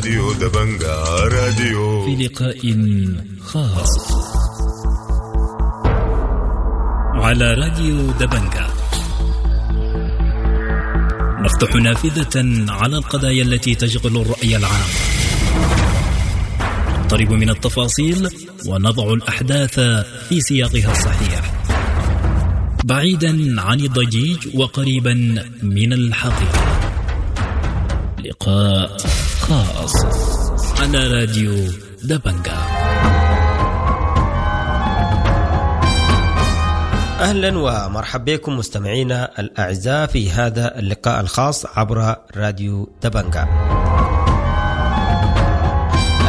راديو دبنجا راديو. في لقاء خاص على راديو دبنجا نفتح نافذة على القضايا التي تشغل الرأي العام، نقترب من التفاصيل ونضع الأحداث في سياقها الصحيح، بعيدا عن الضجيج وقريبا من الحقيقة. لقاء خاص على راديو دبنجا. أهلا ومرحبا بكم مستمعينا الأعزاء في هذا اللقاء الخاص عبر راديو دبنجا.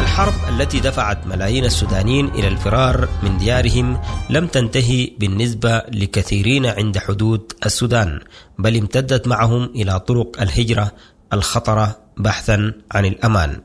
الحرب التي دفعت ملايين السودانيين إلى الفرار من ديارهم لم تنتهي بالنسبة لكثيرين عند حدود السودان، بل امتدت معهم إلى طرق الهجرة الخطرة بحثا عن الأمان.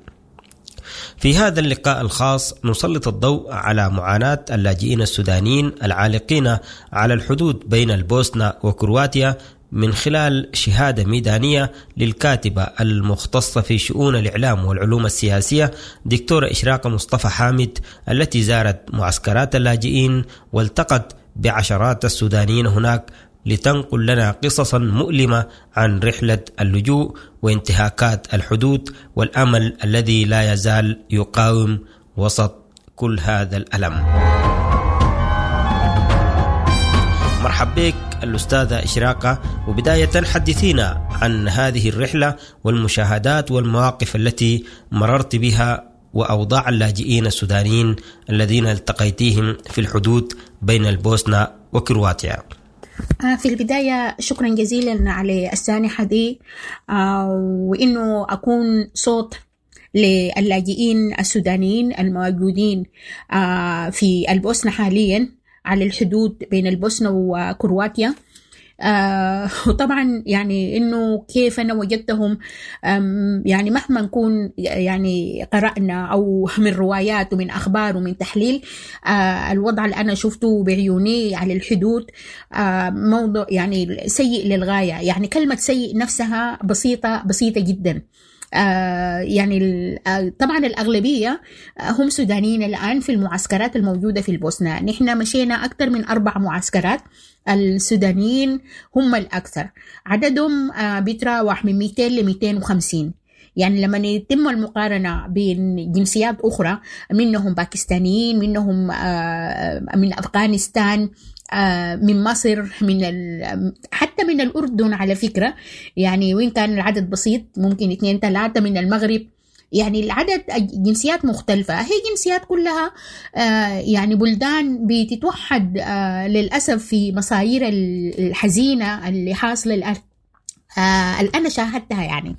في هذا اللقاء الخاص نسلط الضوء على معاناة اللاجئين السودانيين العالقين على الحدود بين البوسنة وكرواتيا من خلال شهادة ميدانية للكاتبة المختصة في شؤون الإعلام والعلوم السياسية دكتورة إشراقة مصطفى حامد، التي زارت معسكرات اللاجئين والتقت بعشرات السودانيين هناك لتنقل لنا قصصا مؤلمة عن رحلة اللجوء وانتهاكات الحدود والأمل الذي لا يزال يقاوم وسط كل هذا الألم. مرحب بك الأستاذة إشراقة، وبداية حدثينا عن هذه الرحلة والمشاهدات والمواقف التي مررت بها وأوضاع اللاجئين السودانيين الذين التقيتيهم في الحدود بين البوسنة وكرواتيا. في البداية شكرا جزيلا على السانحة دي، وإنه أكون صوت للاجئين السودانيين الموجودين في البوسنة حاليا على الحدود بين البوسنة وكرواتيا. وطبعا يعني إنه كيف أنا وجدتهم، يعني مهما نكون يعني قرأنا أو من روايات ومن أخبار ومن تحليل، الوضع اللي أنا شفته بعيوني على الحدود موضوع يعني سيء للغاية. يعني كلمة سيء نفسها بسيطة بسيطة جدا. يعني طبعا الأغلبية هم سودانيين الآن في المعسكرات الموجودة في البوسنة. نحن مشينا أكثر من 4 معسكرات، السودانيين هم الأكثر، عددهم بيتراوح من 200 ل 250. يعني لما يتم المقارنة بين جنسيات أخرى، منهم باكستانيين، منهم من أفغانستان، من مصر، من حتى من الأردن على فكرة، يعني وإن كان العدد بسيط ممكن 2 3 من المغرب. يعني العدد جنسيات مختلفة، هي جنسيات كلها يعني بلدان بتتوحد للأسف في مصاير الحزينة اللي حاصلة الآن اللي أنا شاهدتها. يعني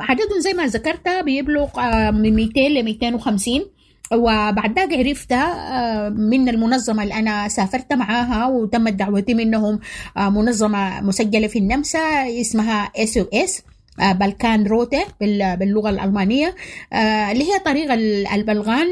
عددهم زي ما ذكرت بيبلغ من 200 ل 250. وبعد ذاك عرفت من المنظمة اللي أنا سافرت معاها وتمت دعوتي منهم، منظمة مسجلة في النمسا اسمها SOS بالكان روتة باللغة الألمانية، اللي هي طريقة البلغان،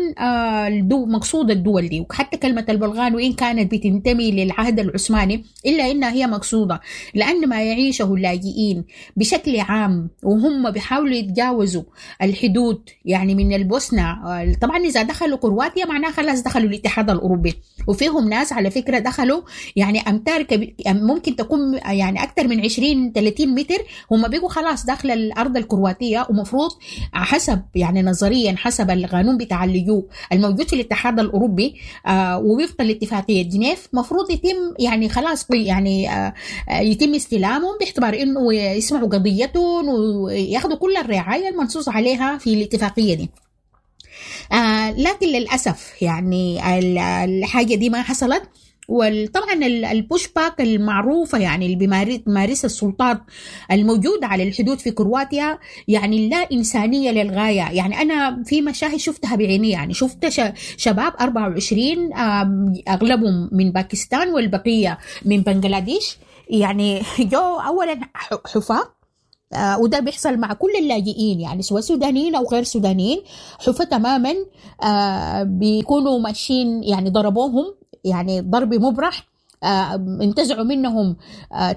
مقصود الدول دي. وحتى كلمة البلغان وإن كانت بتنتمي للعهد العثماني إلا إنها هي مقصودة، لأن ما يعيشه اللاجئين بشكل عام وهم بيحاولوا يتجاوزوا الحدود يعني من البوسنة. طبعا إذا دخلوا كرواتيا معناها خلاص دخلوا الاتحاد الأوروبي، وفيهم ناس على فكرة دخلوا يعني أمتار ممكن تكون يعني أكثر من 20-30 متر، هم بيقوا خلاص داخل الأرض الكرواتية. ومفروض حسب يعني نظريا حسب القانون بتاع اللجوء الموجود في الاتحاد الأوروبي ووفقا لاتفاقية جنيف مفروض يتم يعني خلاص يعني يتم استلامهم باعتبار إنه يسمعوا قضيتهم وياخذوا كل الرعاية المنصوص عليها في الاتفاقية دي. لكن للأسف يعني الحاجة دي ما حصلت. وطبعا ال push back المعروفة يعني اللي بيمارسها السلطات الموجودة على الحدود في كرواتيا يعني لا إنسانية للغاية. يعني أنا في مشاهد شفتها بعيني، يعني شفت شباب 24 أغلبهم من باكستان والبقية من بنغلاديش، يعني جو أولا حفاة، وده بيحصل مع كل اللاجئين يعني سواء سودانيين أو غير سودانيين، حفاة تماما، بيكونوا ماشيين يعني ضربوهم يعني ضرب مبرح، انتزعوا منهم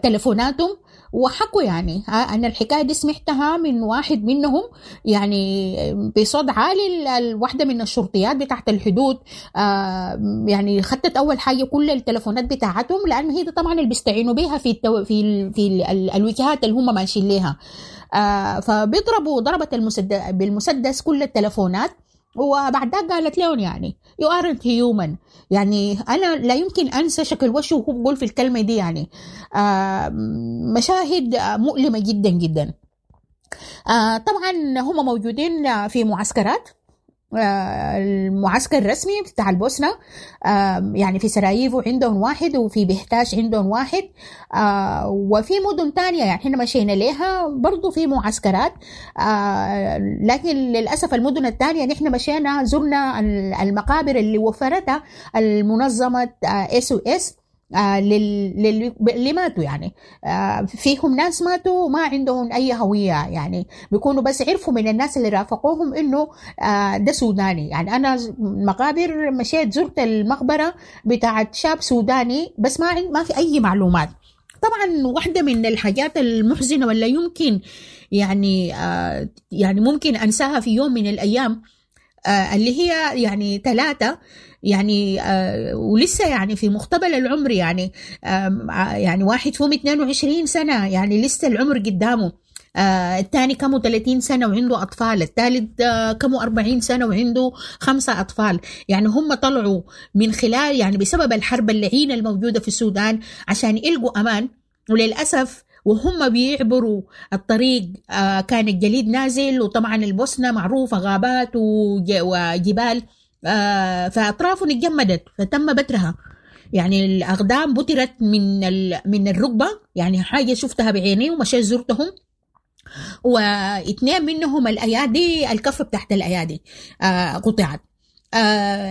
تلفوناتهم وحكوا يعني أنا الحكاية دي سمعتها من واحد منهم يعني بصوت عالي. الواحدة من الشرطيات بتاعت الحدود يعني خدت أول حاجة كل التلفونات بتاعتهم، لأنه هي دي طبعا اللي بيستعينوا بيها في التو في ال في ال الوجهات اللي هم ماشيين ليها. فبيضربوا ضربت بالمسدس كل التلفونات، وبعدها قالت لهم يعني you aren't human. يعني أنا لا يمكن أنسى شكل وشه وهو بيقول في الكلمة دي، يعني مشاهد مؤلمة جدا جدا. طبعا هم موجودين في معسكرات، المعسكر الرسمي بتاع البوسنة يعني في سراييفو عندهم واحد، وفي بهتاش عندهم واحد، وفي مدن تانية يعني احنا مشينا ليها برضو في معسكرات، لكن للأسف المدن التانية نحن مشينا زرنا المقابر اللي وفرتها المنظمة SOS اللي ماتوا، يعني فيهم ناس ماتوا ما عندهم أي هوية، يعني بيكونوا بس عرفوا من الناس اللي رافقوهم إنه ده سوداني. يعني أنا مقابر مشيت زرت المقبرة بتاعت شاب سوداني بس ما في أي معلومات. طبعا واحدة من الحاجات المحزنة ولا يمكن يعني يعني ممكن أنساها في يوم من الأيام، اللي هي يعني 3 يعني ولسه يعني في مقتبل العمر، يعني يعني واحد فيهم 22 سنة، يعني لسه العمر قدامه، الثاني كمو 30 سنة وعنده أطفال، الثالث كمو 40 سنة وعنده 5 أطفال. يعني هم طلعوا من خلال يعني بسبب الحرب اللعينة الموجودة في السودان عشان يلقوا أمان، وللأسف وهم بيعبروا الطريق كان الجليد نازل، وطبعا البوسنة معروفة غابات وجبال، فأطرافهم اتجمدت فتم بترها، يعني الأقدام بترت من الركبة، يعني حاجة شفتها بعيني ومشيت زرتهم. واثنين منهم الأيادي، الكف بتاعت الأيادي قطعت.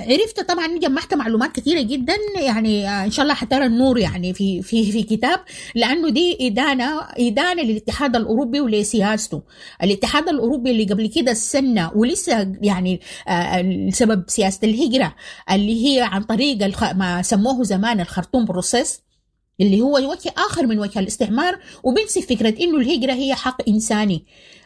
عرفت طبعا، جمعت معلومات كثيرة جدا، يعني ان شاء الله حترى النور يعني في في في كتاب، لانه دي ادانة للاتحاد الاوروبي ولسياسته. الاتحاد الاوروبي اللي قبل كده السنة ولسه يعني سبب سياسة الهجرة اللي هي عن طريق ما سموه زمان الخرطوم process، اللي هو وجه اخر من وجه الاستعمار، وبنسي فكرة انه الهجرة هي حق انساني.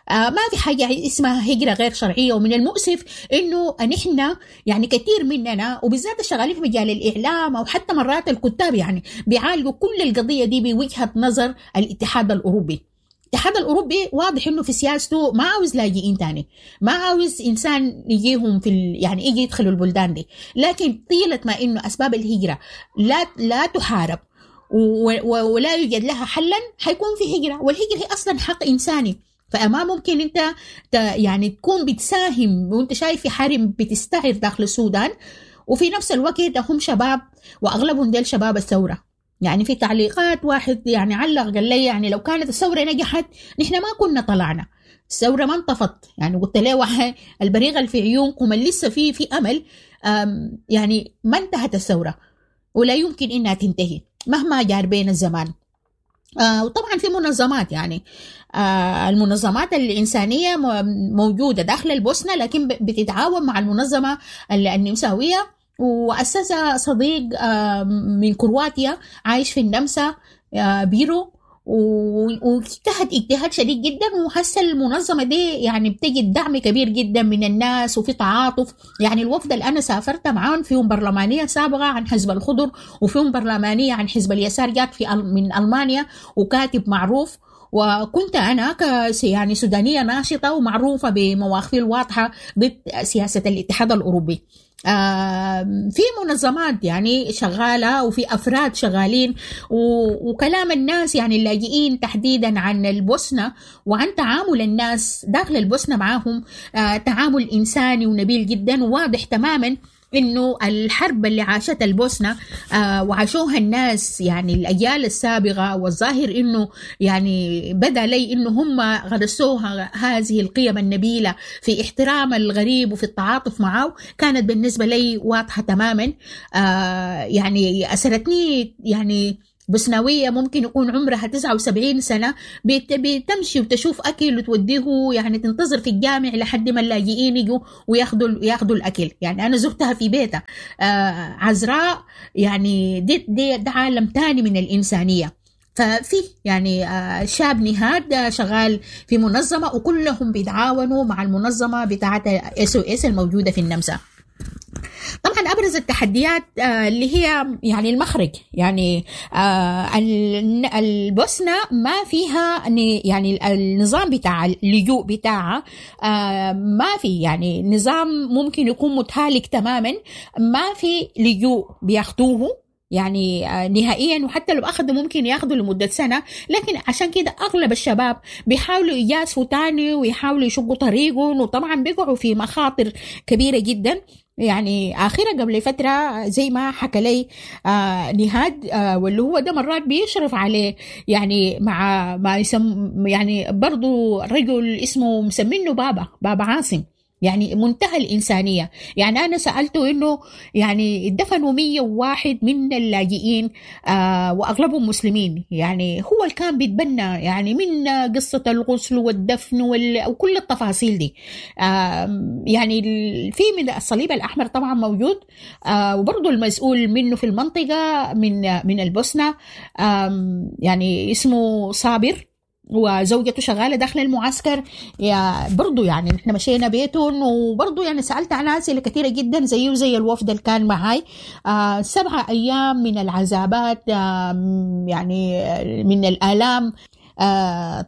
ما في حاجة اسمها هجرة غير شرعية. ومن المؤسف إنه نحن يعني كثير مننا وبالذات الشغالين في مجال الإعلام أو حتى مرات الكتاب يعني بيعالجوا كل القضية دي بوجهة نظر الاتحاد الأوروبي. الاتحاد الأوروبي واضح إنه في سياسته ما عاوز لاجئين تاني، ما عاوز إنسان يجيهم في يعني يجي يدخلوا البلدان دي، لكن طيلة ما إنه أسباب الهجرة لا تحارب ولا يوجد لها حلا حيكون في هجرة، والهجرة هي أصلا حق إنساني. فما ممكن انت يعني تكون بتساهم وانت شايف في حرب بتستعر داخل السودان، وفي نفس الوقت هم شباب واغلبهم ديل شباب الثورة. يعني في تعليقات واحد يعني علق قال لي يعني لو كانت الثورة نجحت نحن ما كنا طلعنا، الثورة ما انطفت. يعني قلت له البريغه اللي في عيونكم اللي لسه في امل، يعني ما انتهت الثورة ولا يمكن انها تنتهي مهما جار بين الزمان. وطبعا في منظمات يعني المنظمات الإنسانية موجودة داخل البوسنة، لكن بتتعاون مع المنظمة النمساوية، وأسسها صديق من كرواتيا عايش في النمسا بيرو، واجتهد اجتهاد شديد جدا، وحس المنظمة دي يعني بتجد دعم كبير جدا من الناس وفي تعاطف. يعني الوفد اللي أنا سافرت معاهم فيهم برلمانية سابقة عن حزب الخضر، وفيهم برلمانية عن حزب اليسار جات في من ألمانيا، وكاتب معروف، وكنت أنا يعني سودانية ناشطة ومعروفة بمواقفي الواضحة ضد سياسة الاتحاد الأوروبي. في منظمات يعني شغالة وفي أفراد شغالين، وكلام الناس يعني اللاجئين تحديدا عن البوسنة وعن تعامل الناس داخل البوسنة معاهم تعامل إنساني ونبيل جدا، وواضح تماما إنه الحرب اللي عاشتها البوسنة وعاشوها الناس يعني الأجيال السابقة، والظاهر إنه يعني بدأ لي إنه هم غرسوها هذه القيم النبيلة في احترام الغريب وفي التعاطف معه، كانت بالنسبة لي واضحة تماما. يعني أسرتني يعني بوسناوية ممكن يكون عمرها 79 سنة بتمشي وتشوف أكل وتوديه، يعني تنتظر في الجامع لحد ما اللاجئين يجوا وياخدوا الأكل. يعني أنا زرتها في بيتها عذراء، يعني دي ده عالم تاني من الإنسانية. ففي يعني شاب نهاد شغال في منظمة، وكلهم بيتعاونوا مع المنظمة بتاعة SOS الموجودة في النمسا. طبعا أبرز التحديات اللي هي يعني المخرج، يعني البوسنة ما فيها يعني النظام بتاع اللجوء بتاعها ما في يعني نظام ممكن يكون متهالك تماما، ما في لجوء بياخدوه يعني نهائيا، وحتى لو أخذوا ممكن ياخذوا لمدة سنة. لكن عشان كده أغلب الشباب بيحاولوا يجازفوا تاني ويحاولوا يشقوا طريقهم، وطبعا بيقعوا في مخاطر كبيرة جدا. يعني آخرها قبل فترة زي ما حكى لي نهاد واللي هو ده مرات بيشرف عليه يعني مع ما يسم يعني برضو رجل اسمه مسمينه بابا عاصم، يعني منتهى الإنسانية. يعني أنا سألته إنه يعني دفنوا 101 من اللاجئين وأغلبهم مسلمين، يعني هو اللي كان بيتبنى يعني من قصة الغسل والدفن وكل التفاصيل دي. يعني في من الصليب الأحمر طبعا موجود، وبرضه المسؤول منه في المنطقة من البوسنة يعني اسمه صابر، وزوجته شغالة داخل المعسكر. يا برضو يعني نحن مشينا بيتهم، وبرضو يعني سألت عن أسئلة كثيرة جدا زيه زي الوفد اللي كان معاي. 7 أيام من العذابات، يعني من الآلام.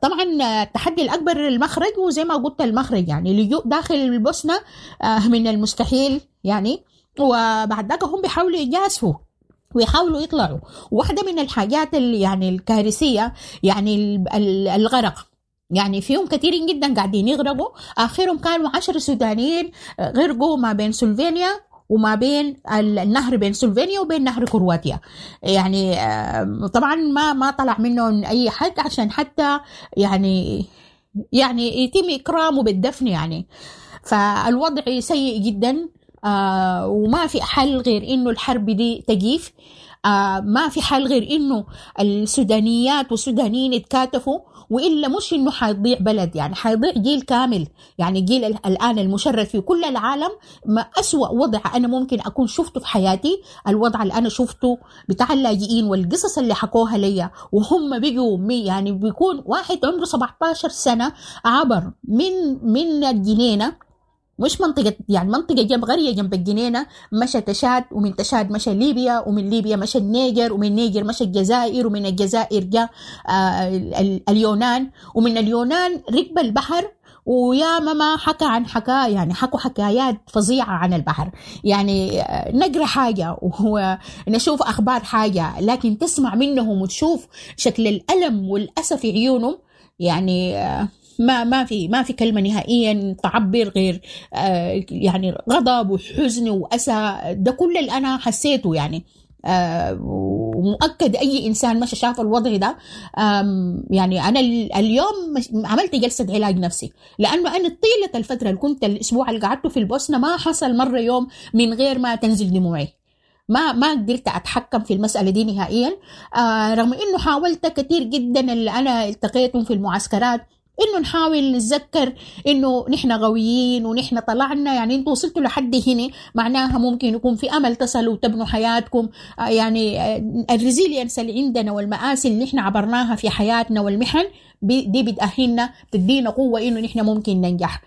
طبعا التحدي الأكبر المخرج، وزي ما قلت المخرج يعني لجوء داخل البوسنة من المستحيل يعني. وبعد ذاك هم بيحاولوا يجازفوا ويحاولوا يطلعوا. واحدة من الحاجات اللي يعني الكارثية يعني الغرق، يعني فيهم كثيرين جدا قاعدين يغرقوا. آخرهم كانوا 10 سودانيين غرقوا ما بين سلوفينيا وما بين النهر، بين سلوفينيا وبين نهر كرواتيا. يعني طبعا ما طلع منهم أي حد عشان حتى يعني يتم إكرامه بالدفن يعني. فالوضع سيء جدا، وما في حل غير إنه الحرب دي تجيف. ما في حل غير إنه السودانيات والسودانيين يتكاتفوا، وإلا مش إنه حيضيع بلد، يعني حيضيع جيل كامل. يعني جيل الآن المشرد في كل العالم، ما أسوأ وضع أنا ممكن أكون شفته في حياتي الوضع اللي أنا شفته بتاع اللاجئين والقصص اللي حكوها ليا، وهم بيجوا يعني بيكون واحد عمره 17 سنة عبر من الجنينة، مش منطقة يعني منطقة جنب قرية جنب الجنينة، مشى تشاد، ومن تشاد مشى ليبيا، ومن ليبيا مشى النيجر، ومن النيجر مشى الجزائر، ومن الجزائر جاء اليونان، ومن اليونان ركب البحر. ويا ماما حكى عن حكاية، يعني حكوا حكايات فظيعة عن البحر. يعني نقرأ حاجة ونشوف أخبار حاجة، لكن تسمع منهم وتشوف شكل الألم والأسى في عيونهم، يعني ما في كلمة نهائيا تعبر غير يعني غضب وحزن وأسى. ده كل اللي أنا حسيته يعني. ومؤكد أي إنسان مشى شاف الوضع ده. يعني أنا اليوم عملت جلسة علاج نفسي، لأنه أنا طيلة الفترة اللي كنت الأسبوع اللي قعدته في البوسنة ما حصل مرة يوم من غير ما تنزل دموعي. ما قدرت أتحكم في المسألة دي نهائيا، رغم إنه حاولت كثير جدا. اللي أنا التقيتهم في المعسكرات إنه نحاول نتذكر إنه نحن قويين ونحن طلعنا، يعني أنتوا وصلتوا لحد هنا معناها ممكن يكون في أمل تصلوا وتبنوا حياتكم. يعني ال resilience اللي عندنا والمآسي اللي نحن عبرناها في حياتنا والمحن دي بتأهلنا، بتدينا قوة إنه نحن ممكن ننجح.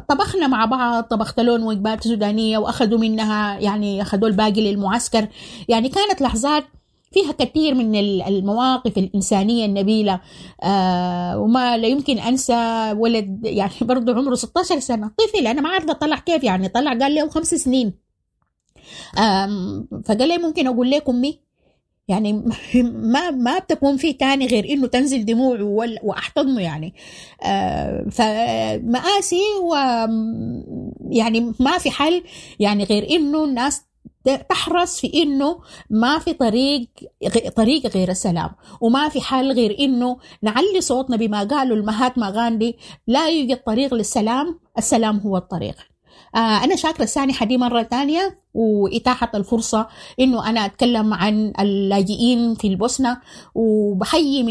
طبخنا مع بعض، طبخت لهم وجبات سودانية وأخذوا منها، يعني أخذوا الباقي للمعسكر. يعني كانت لحظات فيها كثير من المواقف الإنسانية النبيلة. وما لا يمكن أنسى ولد يعني برضو عمره 16 سنة، طفل، أنا ما عارفة طلع كيف، يعني طلع قال له 5 سنين. فقال لي ممكن أقول لكم أمي، يعني ما بتكون في تاني غير إنه تنزل دموع وأحتضنه يعني. فمآسي، و يعني ما في حل يعني غير إنه الناس تحرص في إنه ما في طريق غير السلام، وما في حل غير إنه نعلي صوتنا بما قالوا المهاتما غاندي، لا يوجد طريق للسلام، السلام هو الطريق. أنا شاكرة السانحة دي مرة تانية وإتاحة الفرصة إنه أنا أتكلم عن اللاجئين في البوسنة، وبحيي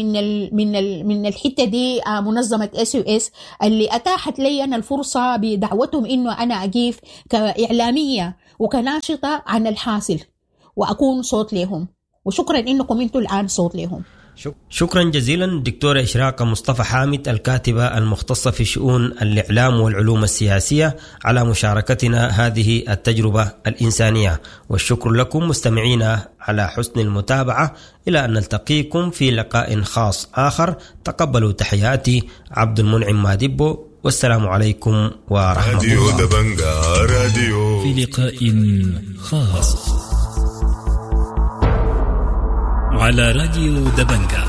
من الحتة دي منظمة SOS اللي أتاحت لي أنا الفرصة بدعوتهم إنه أنا أقيف كإعلامية وكناشطة عن الحاصل وأكون صوت لهم، وشكرا إنكم أنتم الآن صوت لهم. شكرا جزيلا دكتورة إشراقة مصطفى حامد، الكاتبة المختصة في شؤون الإعلام والعلوم السياسية، على مشاركتنا هذه التجربة الإنسانية، والشكر لكم مستمعينا على حسن المتابعة. إلى أن نلتقيكم في لقاء خاص آخر، تقبلوا تحياتي عبد المنعم مادبو، والسلام عليكم ورحمة راديو الله. دبنجا راديو. في لقاء خاص على راديو دبنجا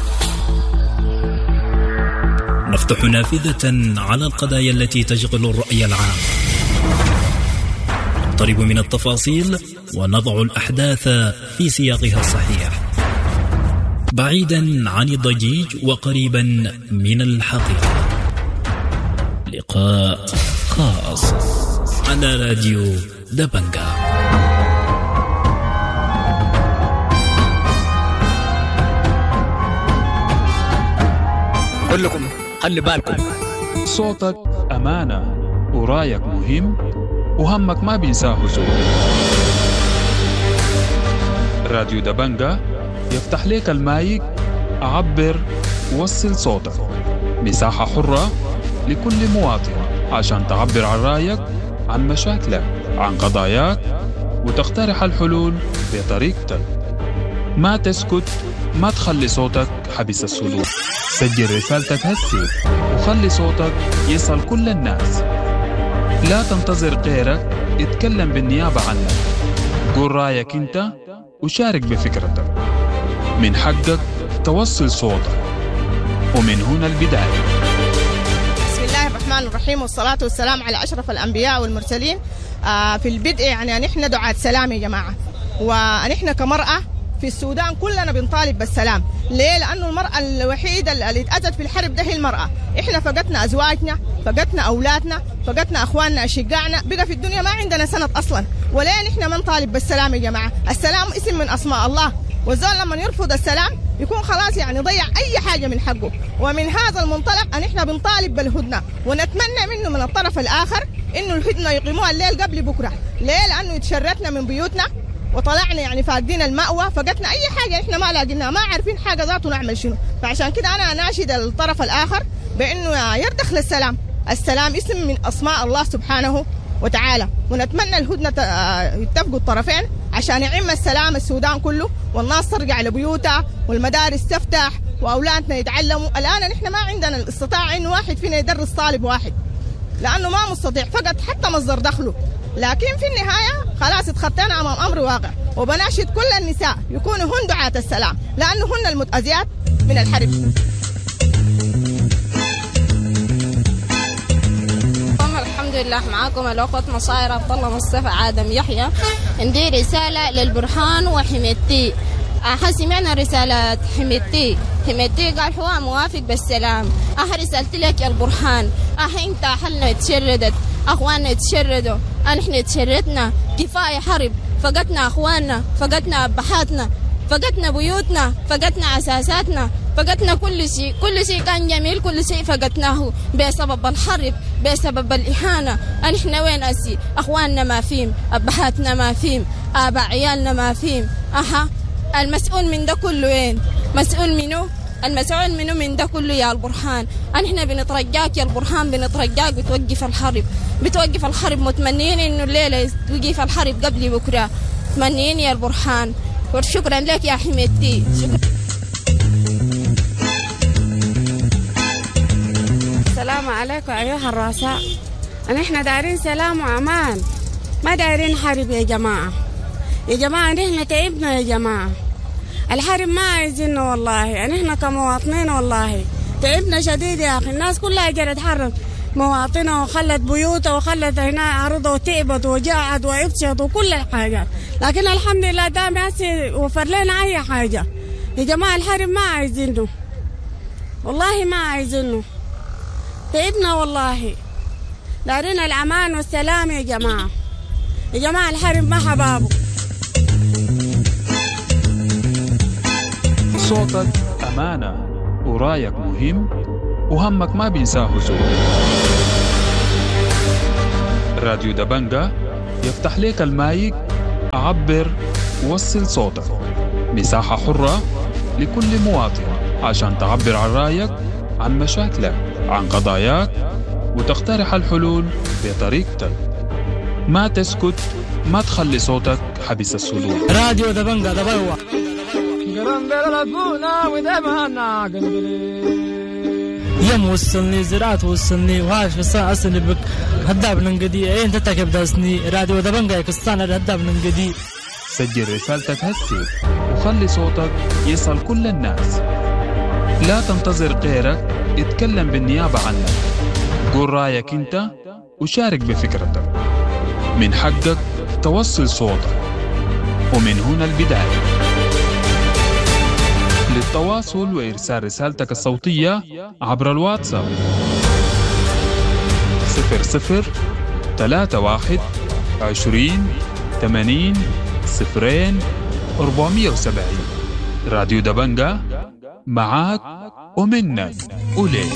نفتح نافذة على القضايا التي تشغل الرأي العام، نقترب من التفاصيل ونضع الأحداث في سياقها الصحيح، بعيدا عن الضجيج وقريبا من الحقيقة. لقاء خاص على راديو دبنجا. كلكم خلي بالكم، صوتك أمانة ورايك مهم وهمك ما بينساه زول. راديو دبنجا يفتح لك المايك، عبر، وصل صوتك، مساحة حرة لكل مواطن عشان تعبر عن رأيك، عن مشاكلك، عن قضاياك، وتقترح الحلول بطريقتك. ما تسكت، ما تخلي صوتك حبس الصدور. سجل رسالتك هسي وخلي صوتك يصل كل الناس. لا تنتظر غيرك يتكلم بالنيابة عنك. قول رأيك انت وشارك بفكرتك. من حقك توصل صوتك، ومن هنا البداية. بسم الله الرحمن الرحيم، والصلاة والسلام على أشرف الأنبياء والمرسلين. في البدء يعني نحن دعاة سلام يا جماعة، ونحن كمرأة في السودان كلنا بنطالب بالسلام. ليه؟ لأنه المرأة الوحيدة اللي اتأذت في الحرب ده هي المرأة. إحنا فقدنا أزواجنا، فقدنا أولادنا، فقدنا أخواننا أشقائنا، بقى في الدنيا ما عندنا سند أصلا. وليه نحن ما نطالب بالسلام يا جماعة؟ السلام اسم من أسماء الله، والزول لما يرفض السلام يكون خلاص يعني ضيع أي حاجة من حقه. ومن هذا المنطلق أن إحنا بنطالب بالهدنة، ونتمنى منه من الطرف الآخر إنه الهدنة يقيموها الليل قبل بكرة. ليه؟ لأنه اتشردنا من بيوتنا وطلعنا يعني فاقدين المأوى، فقدنا أي حاجة إحنا ما لاقيناها، ما عارفين حاجة ذاته نعمل شنو. فعشان كده أنا أناشد الطرف الآخر بأنه يردخ للسلام. السلام اسم من أسماء الله سبحانه وتعالى، ونتمنى الهدنة يتفقوا الطرفين عشان يعم السلام السودان كله، والناس ترجع لبيوتها والمدارس تفتح وأولادنا يتعلموا. الآن نحن ما عندنا الاستطاعة إنه واحد فينا يدرس طالب واحد، لأنه ما مستطيع، فقط حتى مصدر دخله. لكن في النهاية خلاص اتخطينا أمام أمر واقع. وبناشد كل النساء يكونوا هن دعاة السلام، لأنه هن المتأذيات من الحرب. الحمد لله، معاكم الأخت مصاير عبد الله مصطفى آدم يحيى. عندي رسالة للبرهان وحميدتي. سمعنا رسالة حميدتي. حميدتي قال هو موافق بالسلام. رسالتي لك يا البرهان، انت أهلنا اتشردت، اخواننا اتشردوا، نحن اتشردنا، كفاية حرب، فقدنا اخواننا، فقدنا ابهاتنا، فقدنا بيوتنا، فقدنا اساساتنا، فقدنا كل شيء، كل شيء كان جميل، كل شيء فقدناه بسبب الحرب، بسبب الإهانة. نحن وين أسي؟ أخواننا ما فيهم، أبهاتنا ما فيهم، آباء عيالنا ما فيهم. المسؤول من ده كله وين؟ مسؤول منه؟ المسؤول منه من ده كله يا البرهان. نحن بنترجاك يا البرهان، بنترجاك بتوقف الحرب، بتوقف الحرب. متمنين إنه الليلة توقف الحرب قبل بكرة، متمنين يا البرهان. وشكرا لك يا حميدتي. شكرا. السلام عليكم أيها الرؤساء. نحن دايرين سلام وأمان، ما دايرين حرب يا جماعة. يا جماعة نحن تعبنا يا جماعة، الحرب ما عايزينه والله. نحن كمواطنين والله تعبنا شديد يا أخي. الناس كلها جرت حرب مواطنة وخلت بيوتها وخلت هنا أرضها وتعبت وجاعت وعطشت وكل الحاجات، لكن الحمد لله دام وفر لنا أي حاجة. يا جماعة الحرب ما عايزينه والله، ما عايزينه، تعبنا والله. دارين الأمان والسلام يا جماعة. يا جماعة الحرب ما حبابه. صوتك أمانة ورايك مهم وهمك ما بينساه زول. راديو دبنجا يفتح لك المايك، عبر، وصل صوتك، مساحة حرة لكل مواطن عشان تعبر عن رأيك، عن مشاكلك، عن قضاياك، وتقترح الحلول بطريقتك. ما تسكت، ما تخلي صوتك حبس الصدور. راديو دبنجا دبلوة. يم وصلني زراعة وصلني وهاش بس أصلي بك هداب ننقدي إيه أنت تكب داسني راديو دبنجا يكستان هداب ننقدي. سجل رسالتك هسي وخلي صوتك يصل كل الناس. لا تنتظر غيرك يتكلم بالنيابة عنك. قول رأيك أنت وشارك بفكرتك. من حقك توصل صوتك، ومن هنا البداية. للتواصل وإرسال رسالتك الصوتية عبر الواتساب 00 31 20 80 0 470. راديو دبنجا معاك ومنك وليك.